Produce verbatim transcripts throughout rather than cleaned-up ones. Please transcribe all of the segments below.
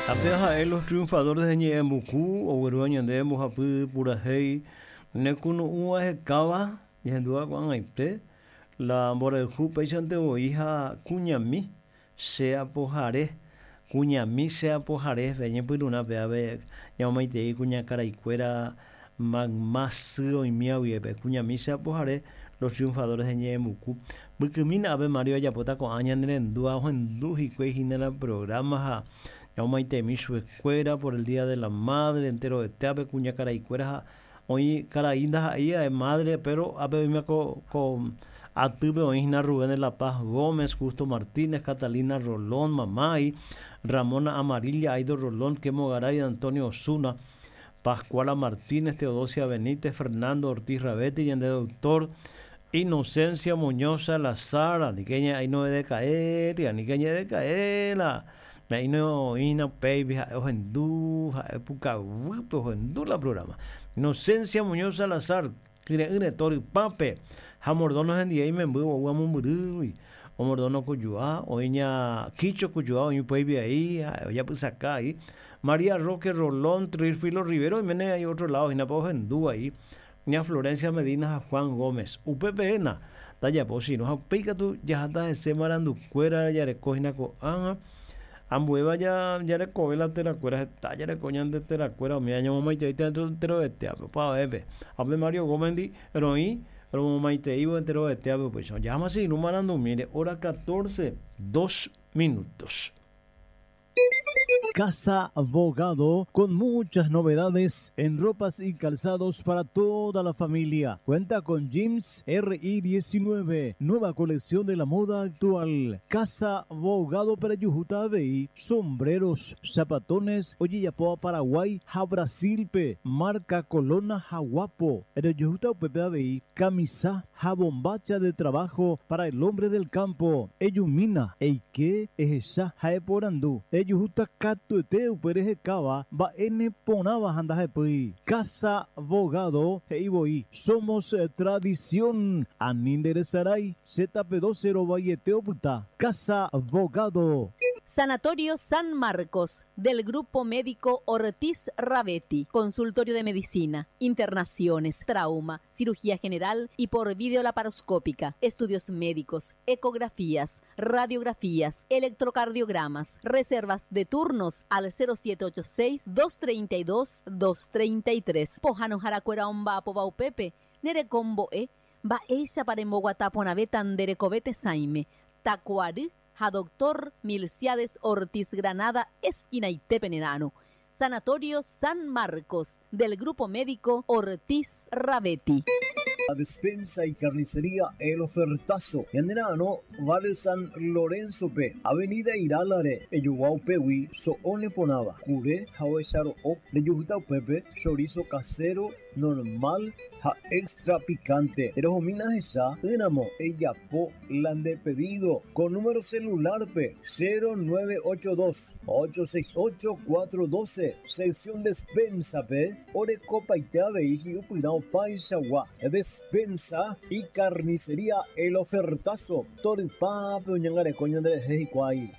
Ape ha'e Los Triunfadores de Ñe'ẽmbuku oguerúva ñande mbohapy purahéi nekunu'ũ ahekáva ñahendúva ko'ag̃aite la mborayhu péichante voi ha kuñami che apohare kuñami che apohare ñepyrũrã ave ñamomaitei kuñakaraikuéra mayma sy oimíva guive kuñami che apohare Los Triunfadores de Ñe'ẽmbuku mbykymína ápe Mario ajapóta ko'ã ñanerendúva ohendu hikuái hína la programa ha ñamomaiteimi chupekuéra por el Día de la Madre enterovete ápe kuñakaraikuéra ha oĩ karai ndaha'éi madre pero ápe oĩma ko ko atýpe oĩ hína Rubén de la Paz Gómez, Justo Martínez, Catalina Rolón, Mamái, Ramona Amarilla, Aido Rolón, Kemo Garay, Antonio Osuna, Pascuala Martínez, Teodosia Benítez, Fernando Ortiz Rabetti, ñande doctor Inocencia Muñoz Salazar, anike aino decaer, anike decaer la aino oĩna upéipe ha'e ohendu ha'e pukavýpe ohendu la programa. Inocencia Muñoz Salazar, kyre'ỹre torypápe ha mordono hendive imemby ou amombyrýgui omordono kujua oĩña Kicho kujua oĩ upéipe ahí ha'e ojapysaka ahí María Roque Rolón, Trifilo Rivero oiméne hay otro lado hína ohendu ahí ña Florencia Medina ha Juan Gómez upépe héna tajapo sino ha upéi katu jaháta hese marandukuéra jareko hína ko'ág̃a ambuéva jarekove la terakuéra heta jareko ñande terakuéra umi ñamomaiteíta enterovetéape opavavépe ha upe Mario Gómez ndi roĩ romomaiteívo enterovetéape upéicha jaháma sino marandumíre hora catorce dos minutos. Casa Abogado con muchas novedades en ropas y calzados para toda la familia. Cuenta con Jeans R I diecinueve, nueva colección de la moda actual. Casa Abogado para Yujuta Abey, sombreros, zapatones, Oyeyapoa Paraguay, ja Brasil P, marca Colona Jaguapo. Yujuta Pepe Abey, camisa, jabombacha de trabajo para el hombre del campo. Eyumina, Eike, Ejesa, Jaeporandú, Eyujuta Katuete uperejekava mba'ene porãva ha ndahepýi. Casa Abogado he'ivoi somos tradición ani nderesarái Z P doce rovaiete opyta. Casa Abogado. Sanatorio San Marcos del Grupo Médico Ortiz Rabetti, consultorio de medicina, internaciones, trauma, cirugía general y por videolaparoscópica, estudios médicos, ecografías, radiografías, electrocardiogramas, reservas de turnos al cero siete ocho seis, dos treinta y dos, dos treinta y tres. Pojano Jaracuera Omba Pobau Pepe, Nerecombo E, Ba Ella para en Bogotá Ponaveta Anderecovete Saime, Tacuarí, a doctor Milciades Ortiz Granada, esquina Itepenerano. Sanatorio San Marcos, del Grupo Médico Ortiz Rabetti. La despensa y carnicería El Ofertazo. Yanderano, Barrio San Lorenzo P, Avenida Iralare, Eyuguau Pewi, Soone Ponaba, Curé, Jaoesaro O, Leyujuta Pepe, chorizo casero, normal, ja extra picante. Pero jomina esa, Enamo, Eyapo, lande pedido, con número celular P, cero nueve ocho dos, ocho seis ocho, cuatro doce, sección despensa P, Orecopa y Teave y Upirao Paisagua, despensa y carnicería El Ofertazo, Toripape, Oñangare, Coño Andrés, Jejicuay.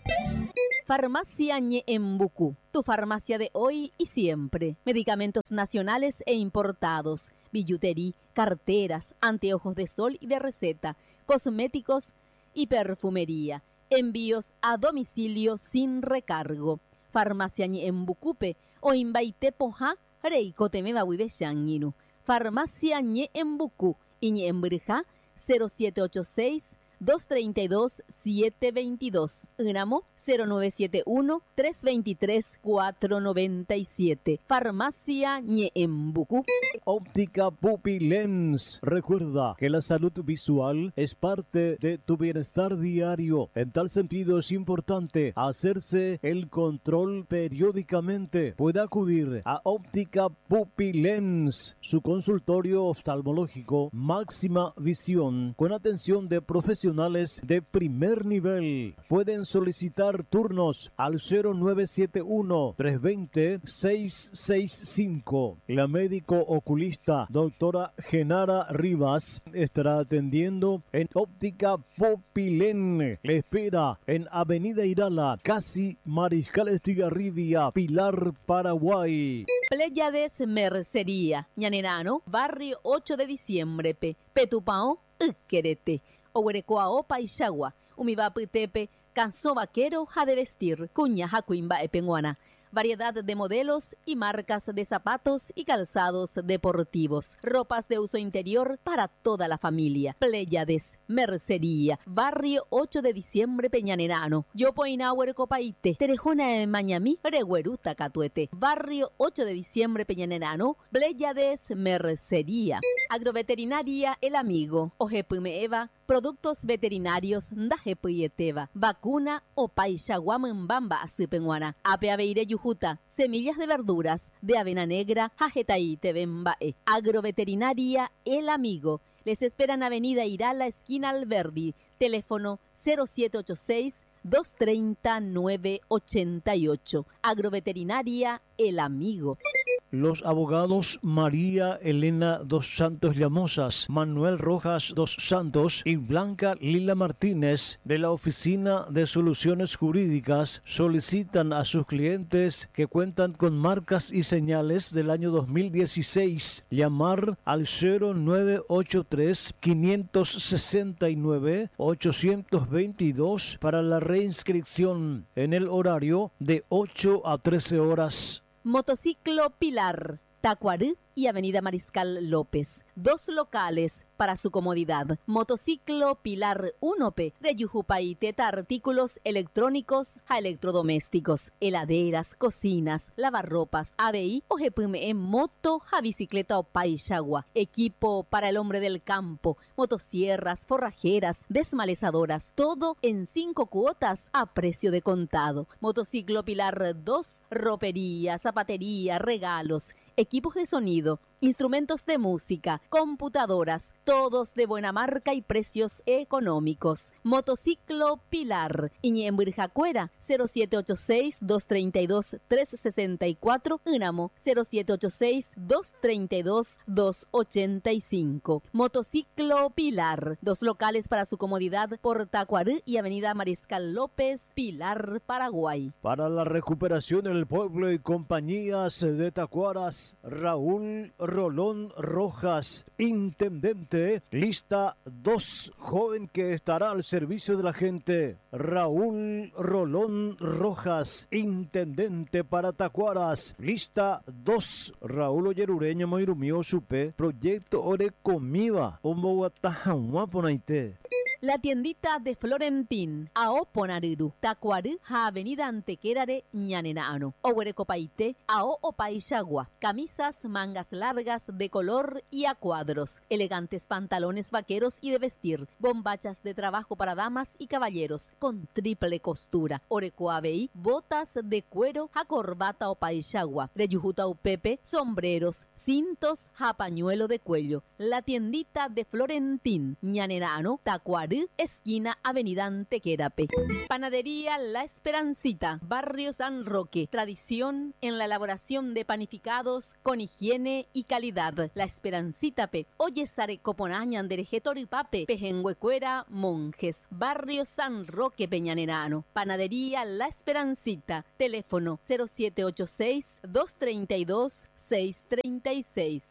Farmacia Ñeembucú, tu farmacia de hoy y siempre. Medicamentos nacionales e importados, billutería, carteras, anteojos de sol y de receta, cosméticos y perfumería. Envíos a domicilio sin recargo. Farmacia Ñeembucúpe o Imbaite Poja, Reicoteme Bahuibe Shangiru. Farmacia Ñeembucú y Ñeembrija cero siete ocho seis, dos treinta y dos, siete veintidós. Ynamo cero nueve siete uno, tres veintitrés, cuatro noventa y siete. Farmacia Ñeembucú. Óptica Pupilens. Recuerda que la salud visual es parte de tu bienestar diario. En tal sentido es importante hacerse el control periódicamente. Puede acudir a Óptica Pupilens, su consultorio oftalmológico máxima visión, con atención de profesionales profesionales de primer nivel. Pueden solicitar turnos al cero nueve siete uno, tres veinte, seis seis cinco. La médico oculista doctora Genara Rivas estará atendiendo en Óptica Popilén. Le espera en Avenida Irala, casi Mariscal Estigarribia, Pilar, Paraguay. Pléyades Mercería, Ñanerano, Barrio ocho de Diciembre, P. Petupao, Uquerete, Oguerecoao, Paixagua, Umivaputepe, Canso Vaquero, ja de vestir, Cuña, Jacuimba, Epenguana. Variedad de modelos y marcas de zapatos y calzados deportivos. Ropas de uso interior para toda la familia. Pléyades, Mercería, Barrio ocho de Diciembre, Peñanerano. Yopoinauer Copaite, Terejona de Mañamí, Regueruta Catuete. Barrio ocho de Diciembre, Peñanerano. Pléyades, Mercería. Agroveterinaria El Amigo, Ojepumeeva, productos veterinarios Ndajepuyeteva, vacuna o Paixaguamambamba Azupenguana, Apeaveire Yujuta, semillas de verduras, de avena negra, Jajetaí Tebembae. Agroveterinaria El Amigo. Les esperan Avenida Irala, esquina Alberdi, teléfono cero siete ocho seis, dos treinta, nueve ochenta y ocho. Agroveterinaria El Amigo. Los abogados María Elena dos Santos Llamosas, Manuel Rojas dos Santos y Blanca Lila Martínez de la Oficina de Soluciones Jurídicas solicitan a sus clientes que cuentan con marcas y señales del año dos mil dieciséis llamar al cero nueve ocho tres, quinientos sesenta y nueve, ochocientos veintidós para la reinscripción en el horario de ocho a trece horas. Motociclo Pilar, Tacuarí y Avenida Mariscal López. Dos locales para su comodidad. Motociclo Pilar uno P de Yujupaiteta, artículos electrónicos a electrodomésticos, heladeras, cocinas, lavarropas, A B I o G P M E, moto, a bicicleta o paixagua, equipo para el hombre del campo, motosierras, forrajeras, desmalezadoras, todo en cinco cuotas a precio de contado. Motociclo Pilar dos, ropería, zapatería, regalos, equipos de sonido, instrumentos de música, computadoras, todos de buena marca y precios económicos. Motociclo Pilar, Iñemburjacuera, cero siete ocho seis, dos treinta y dos, tres sesenta y cuatro, Ínamo, cero siete ocho seis, dos treinta y dos, dos ochenta y cinco. Motociclo Pilar, dos locales para su comodidad por Tacuarí y Avenida Mariscal López, Pilar, Paraguay. Para la recuperación del pueblo y compañías de Tacuaras, Raúl Rolón Rojas, intendente, lista dos, joven que estará al servicio de la gente. Raúl Rolón Rojas, intendente para Tacuaras, lista dos. Raúl Oyerureña Moirumio Supe, proyecto Orecomiva, Omboguatajahuaponaite. La tiendita de Florentín, Aoponariru, Tacuarí, Avenida Antequerare, Ñanenano, Oguerecopaite, Ao Opaixagua, camisas, mangas largas de color y a cuadros, elegantes pantalones vaqueros y de vestir, bombachas de trabajo para damas y caballeros, con triple costura, Orecoabei, botas de cuero, a corbata Opaixagua, Reyujuta Upepe, sombreros, cintos, a pañuelo de cuello. La tiendita de Florentín, Ñanenano, Tacuarí, esquina Avenida Antequerape. Panadería La Esperancita, Barrio San Roque. Tradición en la elaboración de panificados con higiene y calidad. La Esperancita P. Oye Sarecoponaña, Andereje Toripape, Pejenguecuera, Monjes. Barrio San Roque, Peñanerano. Panadería La Esperancita. Teléfono cero siete ocho seis, dos treinta y dos, seis treinta y seis.